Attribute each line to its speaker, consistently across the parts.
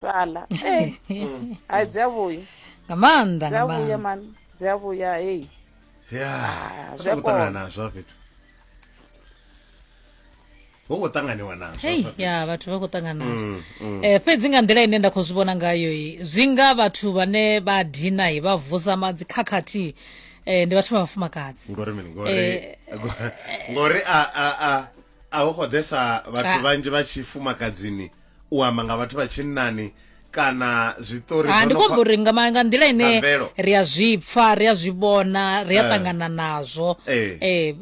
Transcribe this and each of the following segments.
Speaker 1: Fhaḽa. Eh. Hai dzi a vhuya.
Speaker 2: Nga maanḓa
Speaker 1: Dzi
Speaker 2: nga
Speaker 1: a vhuya
Speaker 2: maanḓa.
Speaker 1: mani. Dzi a vhuya hey.
Speaker 3: Ya.
Speaker 1: Ah,
Speaker 3: Zwi
Speaker 1: zwi a
Speaker 3: khou ṱangana
Speaker 1: kona.
Speaker 3: nazwo hafha fhethu. Hu khou ṱanganiwa nazwo.
Speaker 2: Hei,
Speaker 3: hafha fhethu.
Speaker 2: ya vhathu vha khou ṱangana nazwo. Eh, fhedzi nga nḓila ine nda khou zwi vhona ngayo i, zwi nga vhathu vhane vha dina i, vha vusa ma dzikhakhathi eh, ndi vhathu vha vhafumakadzi.
Speaker 3: Ngori mini? Ngori ngori a a a a hu khou ḓesa vhathu
Speaker 2: Ah.
Speaker 3: vhanzhi vha tshifumakadzini u amba nga vhathu vha tshinnani kana zwiṱori
Speaker 2: Ah,
Speaker 3: zwo
Speaker 2: ndi
Speaker 3: no
Speaker 2: khou amba
Speaker 3: khwa-
Speaker 2: uri nga ma- nga nḓila ine
Speaker 3: Nga mvelo.
Speaker 2: ri a zwi pfa ri a zwi vhona ri a
Speaker 3: Eh.
Speaker 2: ṱangana nazwo
Speaker 3: Eh.
Speaker 2: Eh,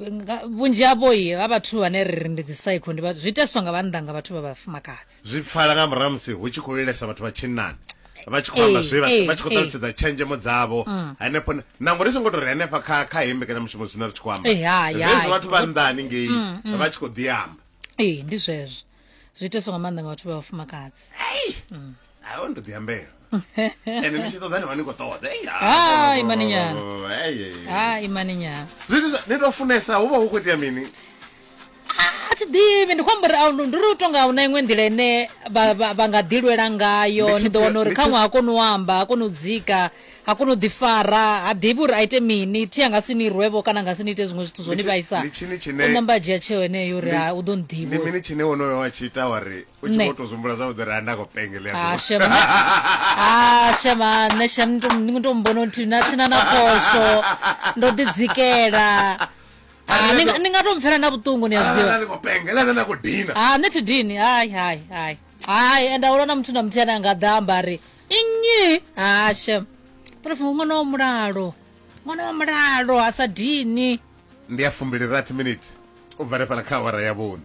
Speaker 2: vhunzhi havho i ha vhathu vhane ri ri ndi dzi psycho ndi zwi iteswa nga vhannḓa nga vhathu vha vhafumakadzi
Speaker 3: zwi pfala nga murahu ha musi hu tshi khou lilesa vhathu vha tshinnani vha tshi khou amba
Speaker 2: Eh,
Speaker 3: zwe vha
Speaker 2: eh,
Speaker 3: vha tshi khou
Speaker 2: eh.
Speaker 3: ṱalutshedza tshenzhemo dzavho hanefho nangwe ri songo tou ri hanefha kha kha heyi mbekanyamushumo zwine ri tshi khou amba
Speaker 2: Eh, hai,
Speaker 3: zwezwi
Speaker 2: hai.
Speaker 3: vhathu vha nnḓa haningei vha tshi khou ḓi amba
Speaker 2: ee ndi zwezwo zwi iteswa nga maanḓa nga vhathu vha vhafumakadzi
Speaker 3: ayo ndo ḓi ambela ende ni tshi ṱoḓa ni vha ni khou ṱoḓa Ei, ah,
Speaker 2: Hai, imani nyana.
Speaker 3: Ei, ei, ei.
Speaker 2: ha imani nyana
Speaker 3: Zwithu zwa- ni tou funesa hu vha hu khou itea mini
Speaker 2: a thi ḓivhi ndi khou amba uri ndi uri u tonga hu na iṅwe nḓila ine vha vha- vha nga ḓilwela ngayo
Speaker 3: Ndi
Speaker 2: ni ḓo wana uri
Speaker 3: ndi
Speaker 2: khaṅwe ha koni u amba ha koni u dzika ha koni u ḓifara ha ḓivhi uri a ite mini thi a nga si ni rwevho kana nga si ni ite zwiṅwe zwithu zwo
Speaker 3: Ndi
Speaker 2: ni
Speaker 3: tshi-
Speaker 2: vhaisa
Speaker 3: ndi tshini tshine-
Speaker 2: u namba a dzhia tsheo yeneyo uri ha u ḓo
Speaker 3: ndi
Speaker 2: nḓivha
Speaker 3: mini tshine wonoyo wa tshi ita wa ri u tshi
Speaker 2: Nṋe.
Speaker 3: vho tou zwihumbula zwavhuḓi uri a nda khou pengelela
Speaker 2: Ah, shema ah shema nṋe shem ndi to mbona uri na thina na phosho ndo ḓi dzikela Ah, ni nga- ni nga to mpfela na vhuṱungu ni a zwi ḓivha
Speaker 3: ndi khou pengela nṋe nda khou dina
Speaker 2: ha nṋe thi dini hai hai hai hai ende ahuna na muthu na muthihi ane a nga ḓa amba ari nnyi ha shem prof ṅwana wa mulalo ṅwana wa mulalo a sa dini
Speaker 3: ndi ya 28 minute u bva ri fhala kha awara ya vhuṋa.